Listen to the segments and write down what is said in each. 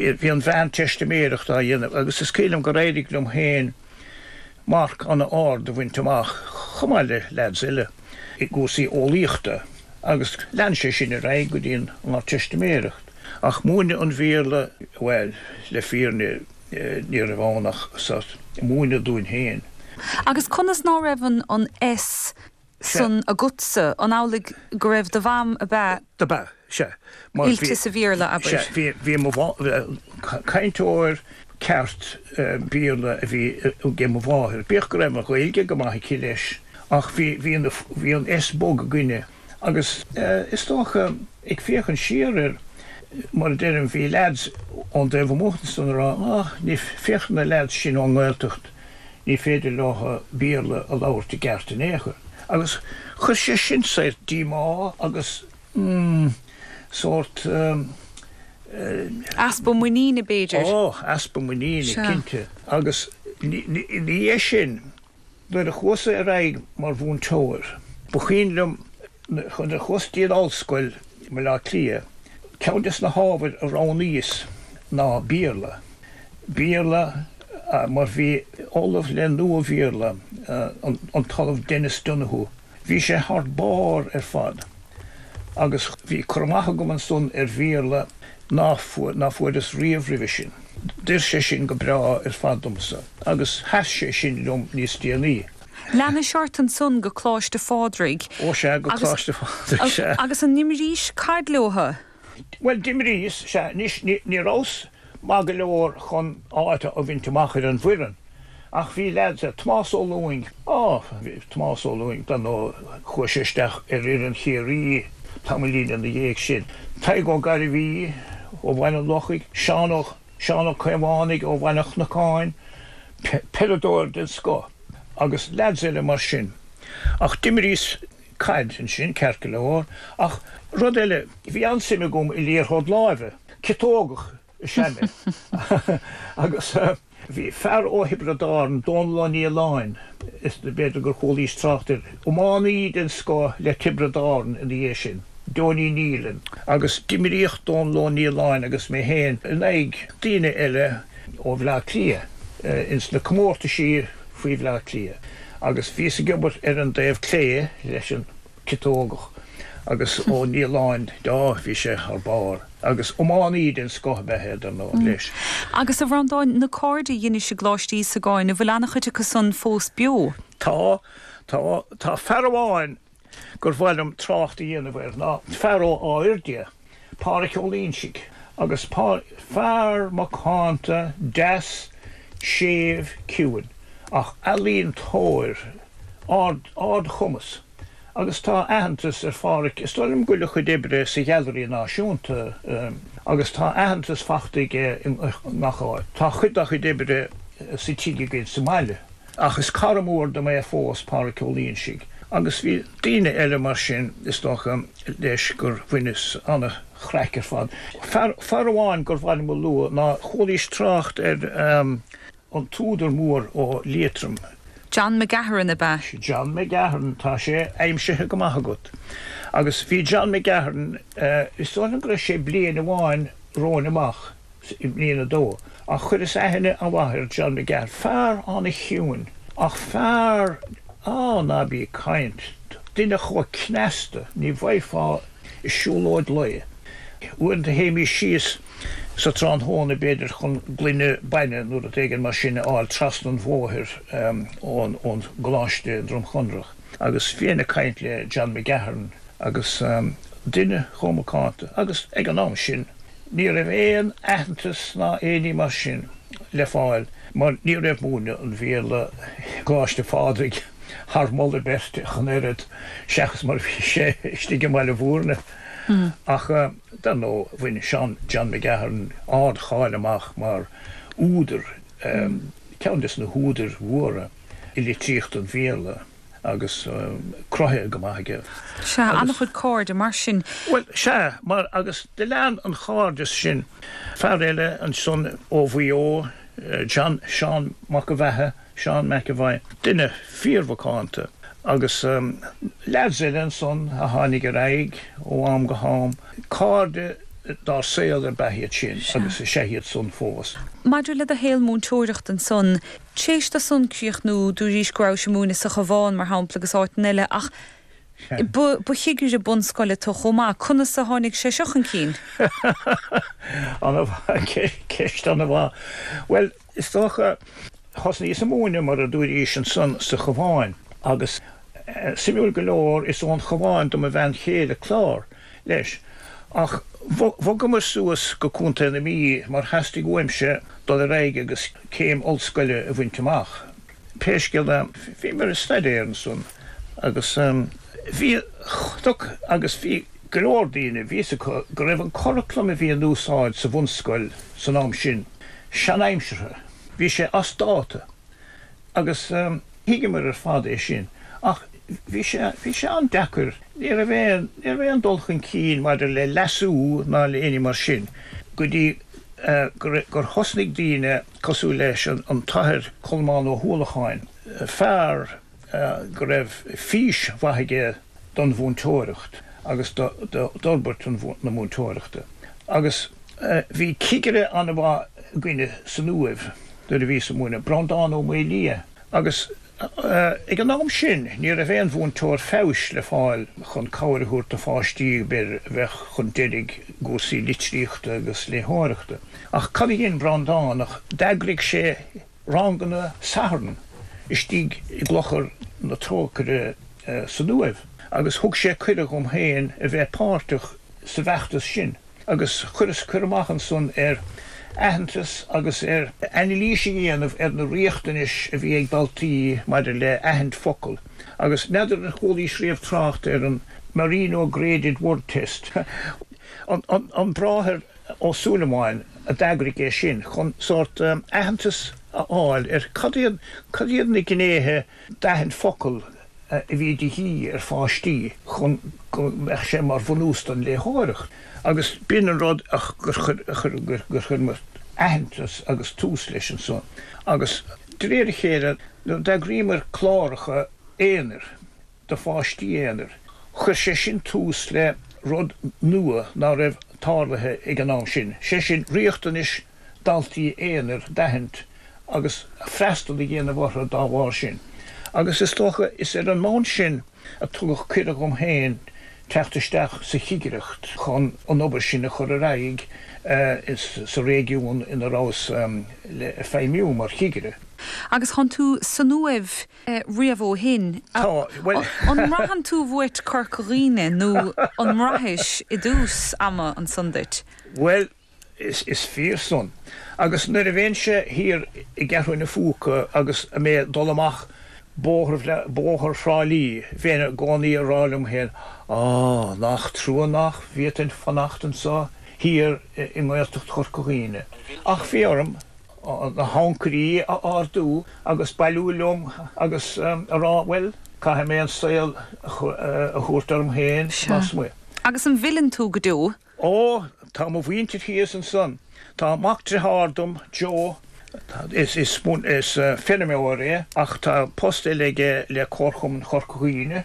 Bhí an Mheánteistiméireacht á dhéanamh agus is cuimhin liom gur éirigh liom féin marc an-ard a bhaint amach, chomh maith le leaids eile, i gcúrsaí eolaíochta agus lean sé sin ar aghaidh go dtí an Ardteistiméireacht. Ach múineadh an Bhéarla, bhuel, le fírinne ní raibh ann ach sórt múineadh dúinn féin. Agus conas ná raibh an S san agatsa? An amhlaidh go raibh do mham ab ea? Dob ea, sea. Oilte sa Bhéarla, abair. Sea, bhí mo cainteoir ceart Béarla a bhí ag mo mháthair, bíodh go raibh an Ghaeilge go maith aici leis, ach bhí, bhí an, bhí an S bog againne agus is dócha, ag féachaint siar air, mar a deirim, bhí leaids ón dtaobh amuigh ansan a rá, ah, ní, féach na leaids sin ón nGaeltacht, ní féidir leo Béarla a labhairt i gceart in aon chor. Agus chuir sé sin saghas díomá agus, mm, sórt, Easpa muiníne, b'fhéidir. Ó, easpa muiníne, cinnte. Agus ina dhiaidh sin, nuair a chuas-sa ar aghaidh mar mhúinteoir, ba chuimhin liom nuair a chuas dtí an ollscoil i mBaile Átha Cliath, ceann des na hábhair a roghnaíos ná Béarla. Béarla mar bhí ollamh le Nua-Bhéarla, an tOllamh Denis Donoghue, bhí sé thar barr ar fad agus bhí cur amach agam ansan ar Bhéarla ná fuaireas riamh roimhe sin. D'oir sé sin go breá ar fad domsa agus sheas sé sin liom níos déanaí. Leanais ort ansan go Coláiste Phádraig. Ó sea, go Coláiste Phádraig, sea. Agus an n-imrís caid leotha? Bhuel, d'imríos, sea. Anois, ní rabhas maith go leor chun áit a bhaint amach ar an bhfoireann, ach bhí leaids, Tomás Ó Lúing, á, bhí Tomás Ó Lúing, dar ndóigh, chuaigh sé isteach ar fhoireann Chiarraí tamaillín ina dhiaidh sin. Tadhg Ó Gairbhí ó Bhaile an Lochaigh, Seán Ó, Seán Ó Caomhánaigh ó Bhaile an Chnocáin, peileadóir den scoth, agus leaids eile mar sin. Ach d'imríos caid ansin, ceart go leor, ach rud eile, bhí an-suim agam i liathróid láimhe, ciotógach is ea mé, agus bhí fear ó Thiobraid Árann, Dónal Ó Nialláin, is b'fhéidir gur chualaís trácht air, iománaí den scoth le Tiobraid Árann ina dhiaidh sin, Donie Nealon, agus d'imríodh Dónal Ó Nialláin agus mé féin in aghaidh daoine eile ó Bhleá Cliath ins na comórtaisí faoi Bhleá Cliath. Agus bhíos ag imirt ar an dtaobh clé leis an ciotógach agus Ó Nialláin, á, bhí sé thar barr. Agus iománaí den scoth ab ea é, dar ndóigh, leis. Agus a Bhreandáin, na cairde a dheinis i gColáiste Íosagáin, an bhfuil an-chuid acu san fós beo? Tá, tá. Tá fear amháin gur mhaith liom trácht a dhéanamh air ná fear ó Áth Fhirdhia, Páraic Ó Loingsigh, agus fear macánta, deas, séimh, ciúin, ach ealaíontóir ard, ardchumas. Agus tá aitheantas ar Pháraic, is dóigh liom go bhfuil a chuid oibre sa Ghailearaí Náisiúnta, agus tá aitheantas fachta aige i ngach áit. Tá cuid dá chuid oibre sa tigh againn sa mbaile. Ach is cara mór dom é fós, Páraic Ó Loingsigh, agus bhí daoine eile mar sin, is dócha, leis, gur bhaineas an-chraic ar fad. Fear, fear amháin gur mhaith liom a lua ná, chualaís trácht ar an t-údar mór ó Liatroim. John McGahern, ab ea? John McGahern, tá sé aimsithe go maith agat. Agus bhí John McGahern, is dóigh liom go raibh sé bliain amháin romhainn amach, i mbliain a dó, ach chuireas aithne an-mhaith ar John McGahern, fear an-chiúin, ach fear, á, ná bí ag caint, duine chomh cneasta, ní bhfaighfeá i siúlóid lae. Uaireanta théimís síos sa tráthnóna, b'fhéidir, chun gloine bainne nó rud éigin mar sin a fháil trasna an bhóthair ón gcoláiste i nDroim Chonrach, agus bhínn ag caint le John McGahern agus duine chomh macánta, agus ag an am sin, Ní raibh aon aitheantas ná aon ní mar sin le fáil mar ní raibh múineadh an Bhéarla i gColáiste Phádraig thar moladh beirte ach an oiread, seachas mar a bhí sé istigh i mBaile Bhúirne. Ach dar ndóigh bhain Seán John McGahern ard-cháil amach mar údar, ceann des na húdair mhóra i litríocht an Bhéarla. agus cruthaithe go maith aige. Sea, an-chuid cairde mar sin. Bhuel, sea, mar, agus do lean an chairdeas sin. Fear eile ansan ó Mhaigh Eo, John, Seán Mac an Bheatha, Seán McEvoy, duine fíormhacánta. Agus leaids eile ansan a tháinig ar aghaidh ó am go ham, cairde. dár saol ar b'ea iad sin agus is ea iad san fós. Maidir le do shaol múinteoireachta ansan, t'éis do san críochnú, dúraís go rabhais ag múineadh sa Chabhán, mar shampla, agus áiteanna eile, ach ba chigire bunscoile tu chomh maith. Conas a tháinig sé seo chun cinn? An-mhaith, ceist an-mhaith. Bhuel, is dócha, thosnaíos ag múineadh, mar a dúraís ansan, sa Chabhán agus suimiúil go leor, is ón Chabhán do mo bhean chéile Clár, leis. Ach bhogamar suas go Contae na Mí mar theastaigh uaimse dul ar aghaidh agus céim ollscoile a bhaint amach. Pé scéal é, bhíomar ag staidéar ansan agus bhí chonac agus bhí go leor daoine, bhí fhios acu go raibh an curaclam a bhí in úsáid sa bhunscoil san am sin seanaimseartha, bhí sé as dáta. Agus thuigeamar ar fad é sin. Ach bhí sé, bhí sé an-deacair. Ní raibh aon, ní raibh aon dul chun cinn maidir le leasú ná le éinní mar sin go dtí gur, gur thosnaigh daoine cosúil leis an tAthair Colmán Ó hUallacháin, fear go raibh fís mhaith aige don mhúinteoireacht agus d'fhorbairt na múinteoireachta. Agus bhí cigire an-mhaith againne san Uaimh nuair a bhíos ag múineadh, Breandán Ó Maolaodha, agus ag an am sin ní raibh aon mhúinteoir feabhais le fáil chun cabhair a thabhairt do pháistí b'fhéidir a bheadh chun deiridh i gcúrsaí litríochta agus léitheoireachta. Ach cad a dhein Breandán ach d'eagraigh sé ranganna Sathairn istigh i gClochar na Trócaire san Uaimh agus thug sé cuireadh dhom féin a bheith páirteach sa bhfeachtas sin agus chuireas cur amach ansan ar aitheantas agus ar anailís a dhéanamh ar na riachtanais a bhí ag daltaí maidir le aithint focal agus n'fheadar ar chualaís riamh trácht ar an Marino Graded Word Test. An Bráthair Ó Súilleabháin a d'eagraigh é sin chun sórt aitheantas a fháil ar cad iad, cad iad na gnéithe d'aithint focal a bhí de dhíth ar pháistí chun go mbeadh sé mar bhunús don léitheoireacht. Agus b'in an rud a gur chuir, gur chuir muid aitheantas agus tús leis ansan. Agus de réir a chéile nuair a d'eagraíomar cláracha aonair, do pháistí aonair. Chuir sé sin tús le rud nua ná raibh tarlaithe ag an am sin, sé sin riachtanais daltaí aonair d'aithint agus freastal a dhéanamh orthu dá bharr sin. Agus is dócha is ar an mbonn sin a tugadh cuireadh dhom féin teacht isteach sa chigireacht chun an obair sin a chur ar aghaidh sa réigiún ina rabhas le feidhmiú mar chigire. Agus thánn tú san Uaimh riamh ó shin. Tá, bhuel. An mbraitheann tú uait Corca Dhuibhne nó an mbraithis i dtús ama ansan duit? Bhuel, is fíor san. Agus nuair a bheinnse thiar i gCeathrú na Phúca agus mé ag dul amach bóthar, bóthar Thrá Lí, bheinn i gcónaí ag rá liom féin, Á, nach trua nach bhféadfainn fanacht anso thiar i nGaeltacht Chorca Dhuibhne. Ach bhí orm na hancairí a ardú agus bailiú liom agus a rá, bhuel, caithfidh mé an saol a thabhairt orm féin lasmuigh. Agus an bhfilleann tú go deo? Ó, tá mo mhuintir thíos ansan. Tá mac driotháir dom, Joe, is feirmeoir é ach tá post eile aige le Comharchumann Chorca Dhuibhne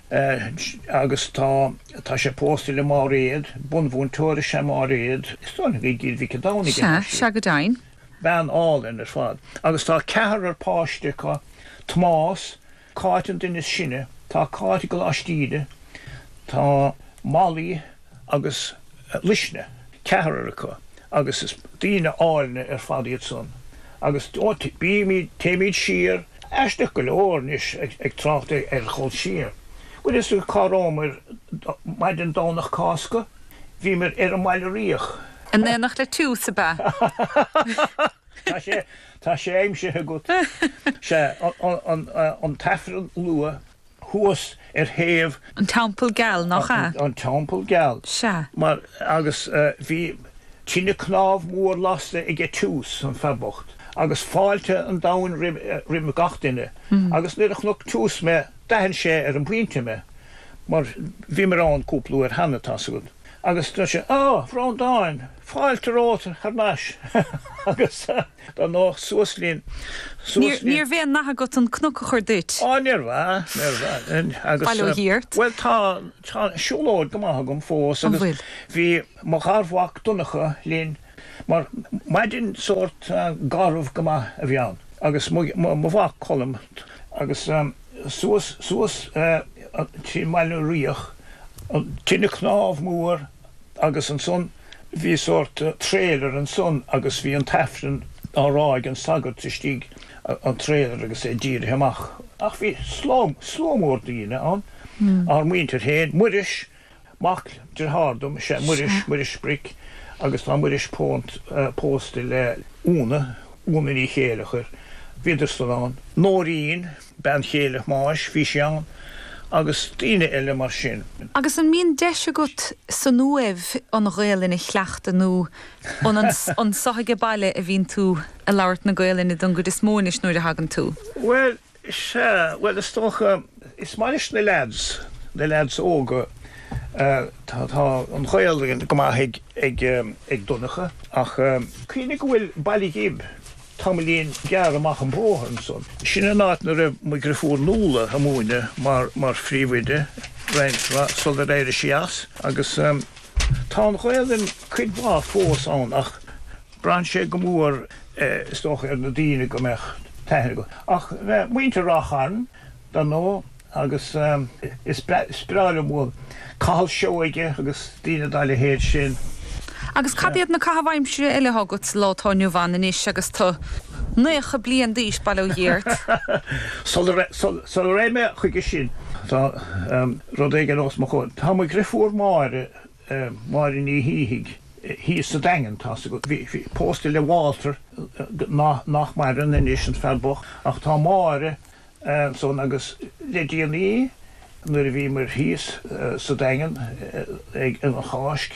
agus tá tá sé pósta le Máiréad, bunmhúinteoir is ea Máiréad, is dóigh liom i gCill Mhic an Domhnaigh atá sí. Sea, sea go deimhin. Bean álainn ar fad. Agus tá ceathrar páiste acu, Tomás, Cáit an duine is sine, tá Cáit i gColáiste Íde, tá Molly agus Luisne, ceathrar acu agus is daoine áilne ar fad iad san. Agus bímid, téimid siar, aisteach go leor anois ag trácht ar dhul siar. Bhfuil fhios agat cá rabhamar maidin Domhnach Cásca? Bhíomar ar an mBaile Riach. In éineacht le Tiús, ab ea? Tá sé, tá sé aimsithe agat. Sea, an tAifreann luath thuas ar thaobh. An Teampall Geal, nach ea? An Teampall Geal. Sea. Mar, agus bhí tine cnámh mór lasta aige Tiús, an fear bocht, agus fáilte an domhain roimh gach duine. Agus nuair a chonaic Tiús mé, d'aithin sé ar an bpointe mé, mar bhíomar ann cúpla uair cheana, tá's agat. Agus dúirt sé, Á, a Bhreandáin, fáilte romhat thar n-ais! Agus dar ndóigh, suas linn, suas linn. Níorbh aon nath agat an cnoc a chur duit? Á, níorbh ea, níorbh ea. Agus, Bail ó Dhia ort. bhuel, tá, tá siúlóid go maith agam fós An agus bhfuil? bhí mo gharmhac Donncha linn mar maidin sórt garbh go maith a bhí ann agus mo, mo mhac Colm agus suas, suas trí mBaile na Ríogh, an tine cnámh mór agus ansan bhí sórt trailer ansan agus bhí an t-aifreann á rá ag an sagart istigh an trailer agus é dírithe amach. Ach bhí slua, slua mór daoine ann, ár muintir féin, Muiris, mac dearthár dom, sea, Muiris, Muiris Bric agus tá Muiris pósta le Úna, Úna Ní Chéileachair, bhíodar san ann, Nóirín, bean chéile Thomáis, bhí sí ann, agus daoine eile mar sin. Agus an mbíonn deis agat san Uaimh an Ghaelainn a chleachtadh nó an anso age baile a bhíonn tú ag labhairt na Gaelainne don gcuid is mó anois nuair a thagann tú? Bhuel, sea, bhuel is dócha, is maith leis na leaids, na leaids óga, tá, tá an Ghaelainn go maith ag, ag, ag Donncha ach cuimhnigh go bhfuil Baile Ghib Tamaillín gearr amach an bóthar ansan. Sin an áit 'na raibh mo dhriofúr Nuala a' múineadh mar mar phríomhoide roinnt mhaith sular éirigh sí as agus tá an Ghaelainn cuid mhaith fós ann ach braitheann sé go mór is dócha ar na daoine go mbeadh taithí acu. Ach muintir Ráth Chairn dar ndóigh agus is breá liom bhuel, Cathal Seoige agus daoine dá leithéid sin. Agus cad iad na caithimh aimsire eile atá agat sa lá atá inniu ann anois agus tú 90 bliain d'aois, bail ó Dhia ort? Sula raghaidh mé chuige sin, tá rud éigin os mo chomhair. Tá mo dhriofúr Máire, Máire Ní Shíthigh, thíos sa Daingean, tá's agat. Bhí pósta le Walter, nach maireann anois, an fear bocht, ach tá Máire ansan agus le déanaí nuair a bhíomar thíos sa Daingean ag an Cháisc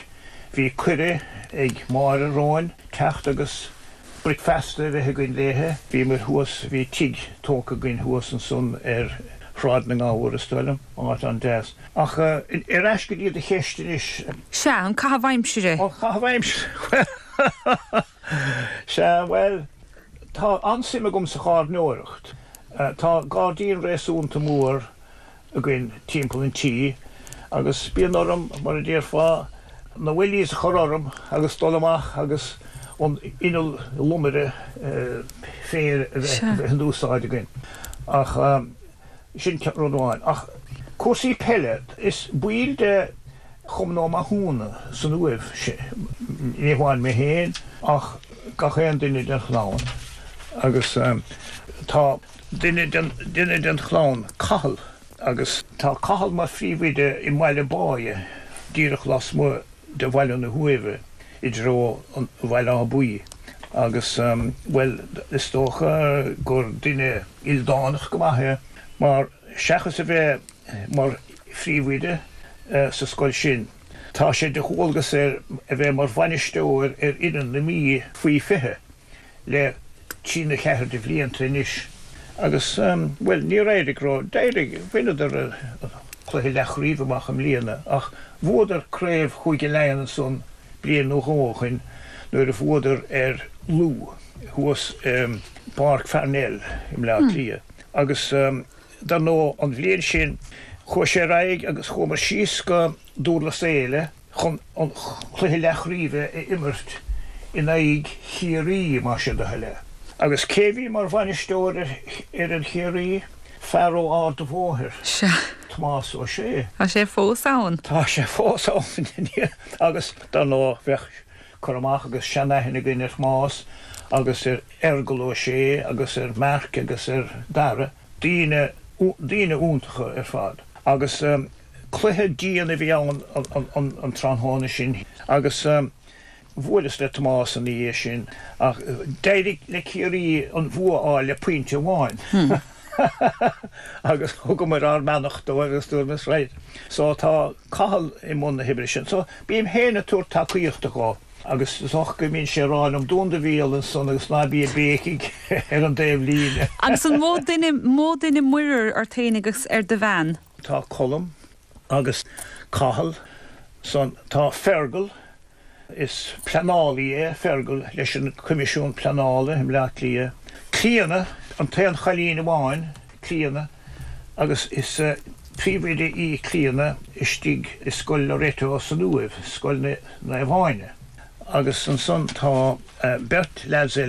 bhí cuireadh ag Máire romhainn teacht agus bricfeasta a bheith againn léithe. Bhíomar thuas, bhí tigh tógtha againn thuas ansan ar Shráid na nGabhar is dóigh liom, áit an-deas. Ach ar ais go dtí do cheist anois. Sea, an caitheamh aimsire. An caitheamh aimsire, bhuel. Sea, bhuel, tá an-suim agam sa ghairneoireacht. Tá gairdín réasúnta mór againn timpeall an tí agus bíonn orm, mar a déarfá, na wellies a chur orm agus dul amach agus an inneall lomaire féir a bheith in úsáid againn. Ach sin rud amháin. Ach cúrsaí peile, is baill de Chumann Ó Mathúna san Uaimh, ní hamháin mé féin ach gach aon duine den chlann agus tá duine den duine den chlann, Cathal, agus tá Cathal mar phríomhoide i mBaile Báighe, díreach lasmuigh de bhaile na hUaimhe i dtreo an Bhaile Átha Buí agus, bhuel, is dócha gur duine ildánach go maith é mar seachas a bheith mar phríomhoide sa scoil sin. Tá sé de dhualgas air a bheith mar bhainisteoir ar fhoireann na Mí faoi 20 le trí nó ceathair de bhlianta anois agus, bhuel, níor éirigh ró, d'éirigh, bhaineadar an cluiche leathchraoibhe amach i mbliana ach bhuadar craobh Chúige Laighean ansan bliain nó dhó ó shoin nuair a bhuadar ar Lú thuas i bPáirc Pharnell i mBleá Cliath agus. Dar ndóigh, an bhliain sin, chuaigh sé ar aghaidh agus chuamar síos go Dúrlas Éile chun an cluiche leathchraoibhe a imirt in aghaidh Chiarraí, más é do thoil é. Agus cé bhí mar bhainisteoir ar fhoireann Chiarraí? Fear ó Ard a' Bhóthair, Sea. Tomás Ó Sé. Tá sé fós ann. Tá sé fós ann. Agus, dar ndóigh, bheadh cur amach agus seanaithne againn ar Thomás agus ar Fheargal Ó Sé agus ar Mark agus ar Dara, daoine, daoine iontacha ar fad. Agus cluiche dian a bhí ann an tráthnóna sin agus bhuaileas le Tomás ina dhiaidh sin ach d'éirigh le Ciarraí an bhua a fháil le pointe amháin agus thugamar ár mbeannacht dóibh agus dúramar right. So tá Cathal i mbun na hoibre sin. So bím féin ag tabhairt tacaíochta dhó. Agus is dócha go mbíonn sé ag rá liom, dún do bhéal ansan agus ná bí ag béicigh ar an dtaobh líne. Agus an mó duine, mó duine muirear ort féin agus ar do bhean? Tá Colm agus Cathal. Ansan tá Fergal, is pleanálaí é Fergal leis an Coimisiún Pleanála i mBleá Cliath. Clíona, an t-aon chailín amháin, Clíona, agus is príomhoide í Clíona istigh i Scoil Loreto san Uaimh, Scoil Naomh Áine. Agus ansan tá beirt leaids eile.